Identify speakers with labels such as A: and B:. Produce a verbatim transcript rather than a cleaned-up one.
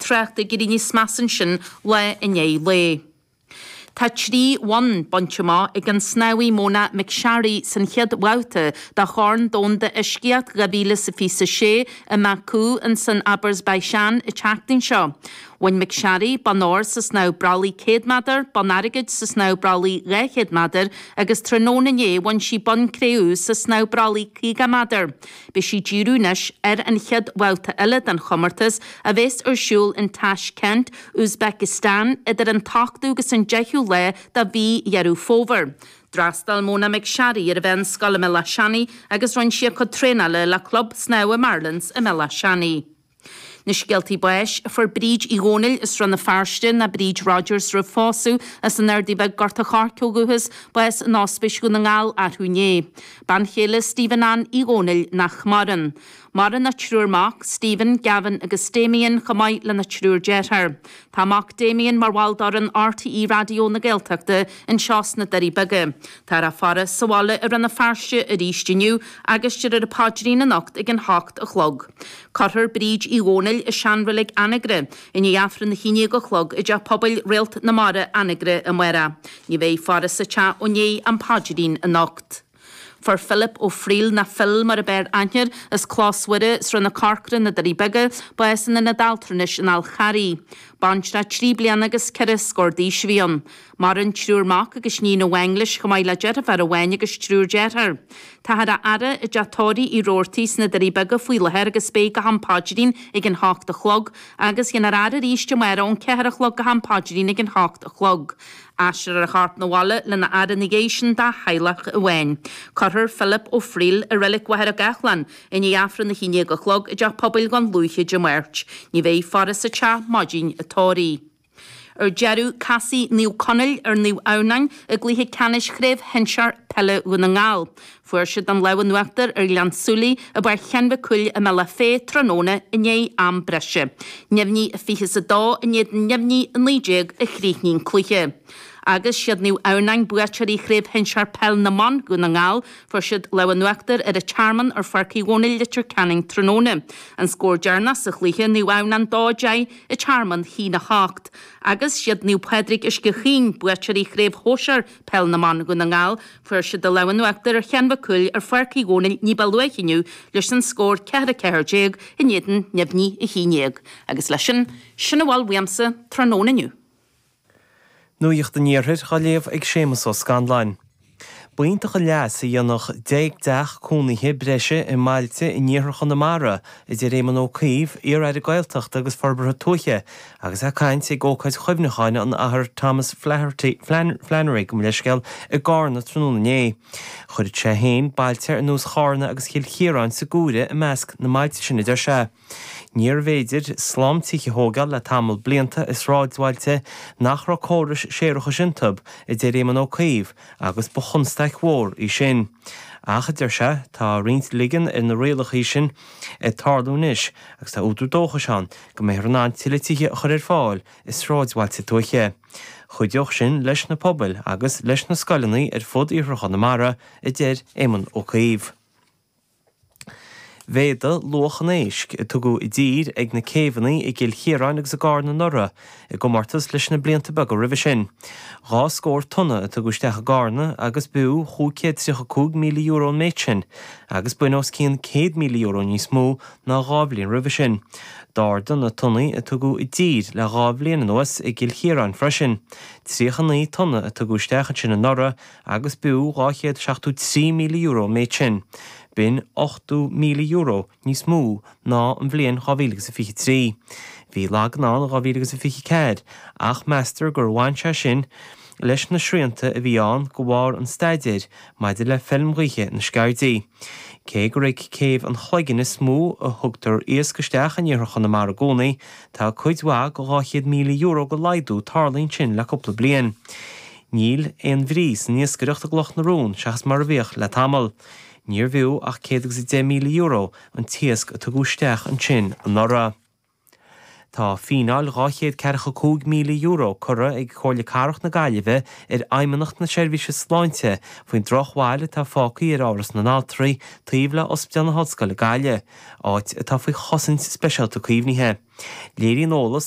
A: tráchta ag éirí níos measa ansin lá i ndiaidh lae. Tá trí bhonn bainte amach ag an snámhaí Mona McSharry san chéad bhabhta de Chorn Domhanda Uiscíocht dhá mhíle is a fiche a sé i mBaku insan Azerbaijan an tseachtain seo. Bhain McSharry bonn óir sa snámh brollaigh céad méadar, bonn airgid sa snámh brollaigh dhá chéad méadar agus tráthnóna inné bhain sí bonn cré-umha sa snámh brollaigh caoga méadar. Beidh sí ag díriú anois ar an chéad bhabhta eile den chomórtas a bheas ar siúl in Tashkent, Uzbekistan idir an t-ochtú agus an deichiú lá de mhí Dheireadh Fómhair. D'fhreastail Mona McSharry ar an mheánscoil i mBéal Átha Seanaidh agus rinne sí a cuid traenála le Club Snámha Marlins i mBéal Átha Seanaidh. Na scéaltaí báis, Fuair Bríd Uí Dhónaill as Rann na Feirste, nó Bríd Rogers roimh phósadh, as an Ardaidh Bheag Gort a' Choirce ó dhúchas, bás in Ospís Dhún na nGall arú inné. Bean chéile Stephen Ann Uí Dhónaill nach maireann. Maireann a triúr mac, Stephen, Gavin agus Damien, chomh maith lena triúr dearthár. Tá a mac Damien mar bhall d'fhoireann RTÉ Raidió na Gaeltachta anseo sna Doirí Beaga. Táthar á faire sa bhaile i Rann na Feirste arís inniu agus déarfar an paidrín anocht ag an hocht a chlog. Cuirfear Bríd Uí Dhónaill i seanreilig Anagaire i ndiaidh Aifreann a haon déag a chlog i dTeach Pobail Réalt na Mara, Anagaire, amárach. Ní bheidh faire sa teach ó ndiaidh an paidrín anocht. Fuair Philip Ó Frighil, nó Phil mar ab fhearr aithne air, as Clós Mhuire, Srath na Corcra, na Doirí Beaga, bás in ionad altranais an Fhál Charraigh. Baintreach trí bliana agus ceithre scór d'aois a bhí ann. Maireann triúr mac agus níon amháin leis chomh maith le deirfiúr amháin agus triúr dearthár. Táthar á fhaire i dteach tórraimh Uí Robhartaigh sna Doirí Beaga faoi láthair agus beidh go ham paidrín ag an hocht a chlog agus dhéanfar a fhaire arís amárach ón ceathair a chlog go ham paidrín ag an hocht a chlog. Aistreofar a chorp 'na bhaile lena fhaire ina dhiaidh sin dá theaghlach amháin. Cuirfear Philip Ó Frighil i reilig Mhachaire Gathlán i ndiaidh Aifreann a haon déag a chlog i dTeach Pobail Dhún Lúiche Dé Máirt. Ní bheidh faire sa teach maidin an tórraimh. Ar deireadh, casfaidh Naomh Conaill ar Naomh Adhamhnáin i gcluiche ceannais Chraobh Shinsear Peile Dhún na nGall. Fuair siad an lámh in uachtar ar Ghleann tSúilí i bPáirc Sheáin Mhic Cumhaill i mBealach Féich tráthnóna i ndiaidh am breise. Neimhní a fiche is a dó in éadan neimhní a naoi déag a chríochnaigh an cluiche. Agus siad Naomh Adhamhnáin buaiteoirí Chraobh Shinsear Peil na mBan Dhún na nGall, fuair siad lámh in uachtar ar an Tearmann ar Pháirc Uí Dhónaill Leitir Ceanainn tráthnóna. An scór deireanach sa chluiche, Naomh Adhamhnáin dó deich, An Tearmann haon a hocht. Agus siad Naomh Pádraig Uisce Chaoin buaiteoirí Chraobh Shóisear Peil na mBan Dhún na nGall, fuair siad an lámh in uachtar ar Sheán Mac Cumhaill ar Pháirc Uí Dhónaill ní ba luaithe inniu leis an scór ceathair a ceathair déag in éadan neimhní a haon déag. Agus leis sin, sin a bhfuil uaimse tráthnóna inniu.
B: Nuacht an Iarthair á léamh ag Séamus Ó Scanláin. B'iontach an leas a dhéanfadh deich dteach cónaithe breise i mbailte in iarthar Chonamara, a deir Éamon Ó Cuív, iar-aire Gaeltachta agus Forbartha Tuaithe, agus é ag caint ag ócáid chuimhneacháin an Athar Thomas Flaherty, Flannery, gabh mo leithscéal, i gCarna tráthnóna inné. Chuirfeadh sé féin bailte ar nós Charna agus Chill Chiaráin sa gcomhaireamh i measc na mbailte sin, a deir sé. Níorbh fhéidir slám tithe a thógáil le tamall blianta i sráidbhailte nach raibh córais séarachais iontu, a deir Éamon Ó Cuív, agus ba chonstaic mhór í sin. Ach, a deir sé, tá roinnt ligean ar na rialacha sin ag tarlú anois agus tá údar dóchais ann go mbeifear in ann tuilleadh tithe a chur ar fáil i sráidbhailte tuaithe. Chuideodh sin leis na pobail agus leis na scoileanna ar fud iarthar Chonamara, a deir Éamon Ó Cuív. Mhéadaigh luach an éisc a tugadh i dtír ag na céibheanna i gCill Chiaráin agus i gCarna anuraidh i gcomórtas leis na blianta beaga roimhe sin. Dhá scór tonna a tugadh isteach i gCarna agus b'fhiú chúig chéad tríocha cúig míle euro an méid sin agus b'in os cionn céad míle euro níos mó ná dhá bhliain roimhe sin. D'ardaigh na tonnaí a tugadh i dtír le dhá bhliain anuas i gCill Chiaráin freisin. Tríocha naoi tonna a tugadh isteach ansin anuraidh agus b'fhiú dhá chéad seachtó trí míle euro an méid sin. B'in ochtó míle euro níos mó ná an bhliain dhá mhíle agus a fiche trí. Bhí lagan ann in dhá mhíle agus a fiche ceathair ach meastar gur bhain sé sin leis na srianta a bhí ann de bharr an staidéir maidir le feilm ghaoithe na Sceirdí. Cé gur ag céibh an Chloiginn is mó a thugtar iasc isteach in iarthar Chonamara i gcónaí, tá cuid mhaith de dhá chéad míle euro de laghdú tarlaithe ansin le cúpla bliain. Níl aon bhrí san iascaireacht i gCloch na Rón seachas mar a bhíodh le tamall. Níorbh fhiú ach céad agus a deich míle euro an t-iasc a tugadh isteach ansin anuraidh. Tá fíneáil dhá chéad ceathracha cúig míle euro curtha ag Comhairle Cathrach na Gaillimhe ar Fheidhmeannacht na Seirbhíse Sláinte faoin drochbhail atá fágtha ar Áras na nAltraí taobh le Ospidéal na hOllscoile Gaillimh, áit atá faoi chosaint speisialta caomhnaithe. Léiríonn eolas a